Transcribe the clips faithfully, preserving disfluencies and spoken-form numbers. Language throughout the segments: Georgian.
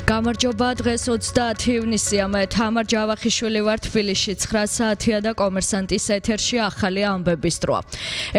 გამარჯობა, დღეს ოცდაათი ივნისია, მე თამარ ჯავახიშვილი ვარ თბილისში, ცხრა საათია და კომერსანტის ეთერში ახალი ამბების დროა.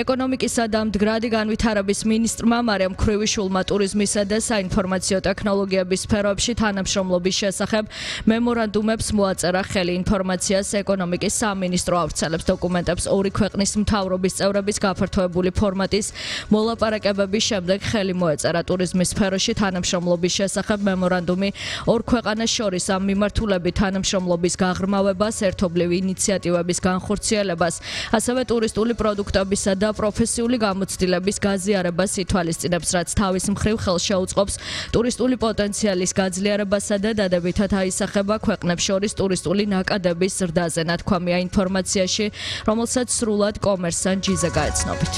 ეკონომიკისა და მდგრადი განვითარების მინისტრმა მარიამ ქრივიშვილმა ტურიზმისა და საინფორმაციო ტექნოლოგიების სფეროებში თანამშრომლობის შესახებ მემორანდუმებს მოაწერა ხელი. ინფორმაციას ეკონომიკის სამინისტრო ავრცელებს დოკუმენტებს ორი ქვეყნის მთავრობის წევრების გაფართოებული ფორმატის მოლაპარაკებების შემდეგ ხელი მოეწერა ტურიზმის სფეროში თანამშრომლობის შესახებ მემორანდუმი ორ ქვეყანას შორის ამ მიმართულებით თანამშრომლობის გაღრმავებას, ერთობლივი ინიციატივების განხორციელებას, ასევე ტურისტული პროდუქტებისა და პროფესიული გამოცდილების გაზიარებას ითვალისწინებს, რაც თავის მხრივ ხელს შეუწყობს ტურისტული პოტენციალის გაძლიერებასა და დადებითად აისახება ქვეყნებს შორის ტურისტული ნაკადების ზრდაზე, ნათქვამია ინფორმაციაში, რომელსაც სრულად კომერსანტ ჯიზე გაეცნობით.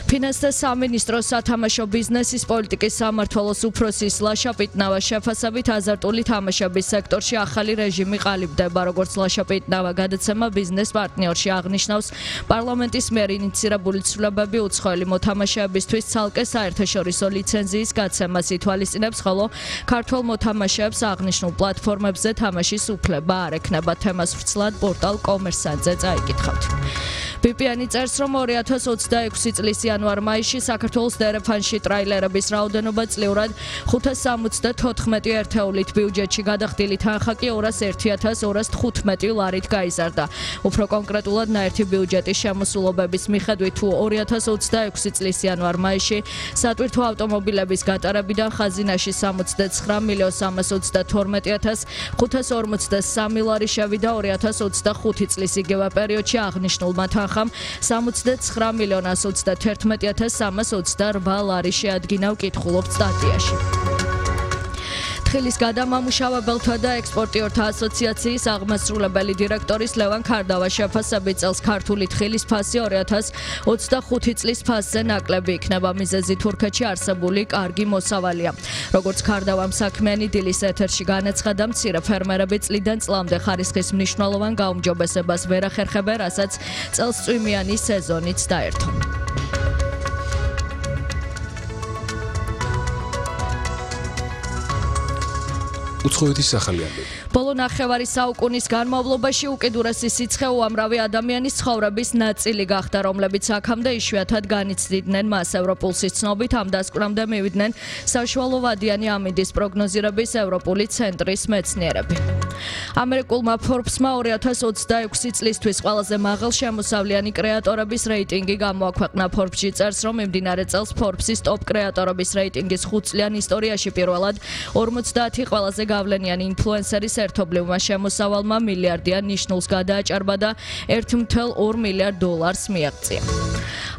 ფინანსთა სამინისტროს სათამაშო ბიზნესის პოლიტიკის სამმართველოს უფროსის ლაშა პიტნავა შეფასებით აზარტული თამაშების სექტორში ახალი რეჟიმი ყალიბდება, როგორც ლაშა პიტნავა გადაცემა ბიზნეს პარტნიორში აღნიშნავს, პარლამენტის მიერ ინიცირებული ცვლილებები უცხოელი მოთამაშეებისთვის ცალკე საერთაშორისო ლიცენზიის გაცემას ითვალისწინებს, ხოლო ქართველ მოთამაშეებს აღნიშნულ პლატფორმებზე თამაშის უფლება არ ექნება. თემას ვრცლად პორტალ კომერსანტზე წაიკითხავთ. ბი-პი-ენი წერს, რომ ორი ათას ოცდაექვსი წლის იანვარ-მაისში საქართველოს დერეფანში ტრაილერების რაოდენობა წლიურად ხუთას სამოცდათოთხმეტი ერთეულით, ბიუჯეტში გადახდილი თანხა კი ორას ერთი ათას ორას თხუთმეტი ლარით გაიზარდა. უფრო კონკრეტულად, ნაერთი ბიუჯეტის შემოსულობების მიხედვით, თუ ორი ათას ოცდაექვსი წლის იანვარ-მაისში სატვირთო ავტომობილების გატარებიდან ხაზინაში სამოცდაცხრა მილიონ სამას ოცდათორმეტი ათას ხუთას ორმოცდასამი ლარი შევიდა, ორი ათას ოცდახუთი წლის იგივე პერიოდში აღნიშნულმა თანხამ სამოცდაცხრა მილიონ ას ოცდაათერთმეტი ათას სამას ოცდარვა ლარი შეადგინა, ვკითხულობთ სტატიაში. თხილის გადამამუშავებელთა და ექსპორტიორთა ასოციაციის აღმასრულებელი დირექტორის ლევან ქარდავას შეფასებით წელს ქართული თხილის ფასი ორი ათას ოცდახუთი წლის ფასზე ნაკლები იქნება. მიზეზი თურქეთში არსებული კარგი მოსავალია. როგორც ქარდავამ საქმიანი დილის ეთერში განაცხადა, მცირე ფერმერები წლიდან წლამდე ხარისხის მნიშვნელოვან გაუმჯობესებას ვერ ახერხებენ, რასაც წელსწვიმიანი სეზონიც დაერთო. უცხოეთის ახალი ამბები. ბოლო ნახევარი საუკუნის განმავლობაში უკიდურესი სიცხე უამრავი ადამიანის ცხოვრების ნაწილი გახდა, რომლებიც აქამდე იშვიათად განიცდიდნენ მას. ევროპულსის ცნობით ამ დასკვნამდე მივიდნენ საშუალო ვადიანი ამინდის პროგნოზირების ევროპული ცენტრის მეცნიერები. ამერიკულმა Forbes-მა ორი ათას ოცდაექვსი წლისთვის ყველაზე მაღალ შემოსავლიანი კრეატორების რეიტინგი გამოაქვეყნა. Forbes-ში წერს, რომ მიმდინარე წელს Forbes-ის ტოპ კრეატორების რეიტინგის ხუთწლიან ისტორიაში პირველად ორმოცდაათი ყველაზე გავლენიანი ინფლუენსერის ერთობლივმა შემოსავალმა მილიარდიან ნიშნულს გადააჭარბა და ერთ მცდარ ორ მილიარდ დოლარს მიაღწია.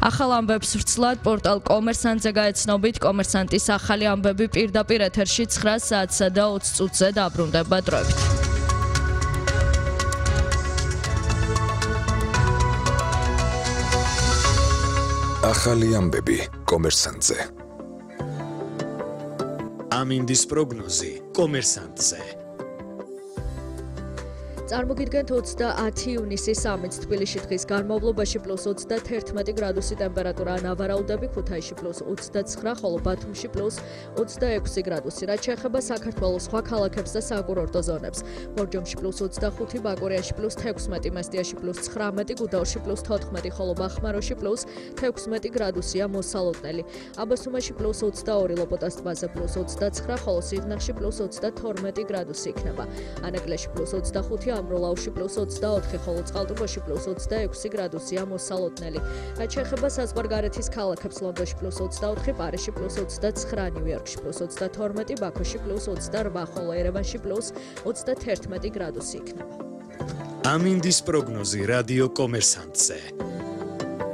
ახალ ამბებს ვრცლად პორტალ კომერსანტზე გაეცნობით, კომერსანტის ახალი ამბები პირდაპირ ეთერში ცხრა საათსა და ოცი წუთზე დაბრუნდება დროებით. ახალი ამბები კომერსანტზე. ამინდის პროგნოზი კომერსანტზე. წარმოგიდგენთ ოცდაათი ივნისის სამიც თბილისში დღის განმავლობაში პლუს ოცდათერთმეტი გრადუსი ტემპერატურა, ნავარაუდები ქუთაისში პლუს ოცდაცხრა, ხოლო ბათუმში პლუს ოცდაექვსი გრადუსი. რაც შეეხება საქართველოს სხვა ქალაქებს და საკურორტო ზონებს, ბორჯომში პლუს ოცდახუთი, ბაკურიაში პლუს თექვსმეტი, მესტიაში პლუს ცხრამეტი, გუდაურში პლუს თოთხმეტი, ხოლო ბახმაროში პლუს თექვსმეტი გრადუსია მოსალოდნელი. აბასუმაში პლუს ოცდაორი, ლოპოტას ტბაზე პლუს ოცდაცხრა, ხოლო სიღნაღში პლუს ოცდათორმეტი გრადუსი იქნება. ანაკლიაში პლუს ოცდახუთი, ამროლაუში პლუს ოცდაოთხი, ხოლო წყალტუბოში პლუს ოცდაექვსი გრადუსია მოსალოდნელი. რაც შეეხება საზღვარგარეთის ქალაქებს, ლონდონში პლუს ოცდაოთხი, პარიზში პლუს ოცდაცხრა, ნიუ-იორკში პლუს ოცდათორმეტი, ბაქოში პლუს ოცდარვა, ხოლო ერევანში პლუს ოცდათერთმეტი გრადუსი იქნება. ამინდის პროგნოზი რადიო კომერსანტზე.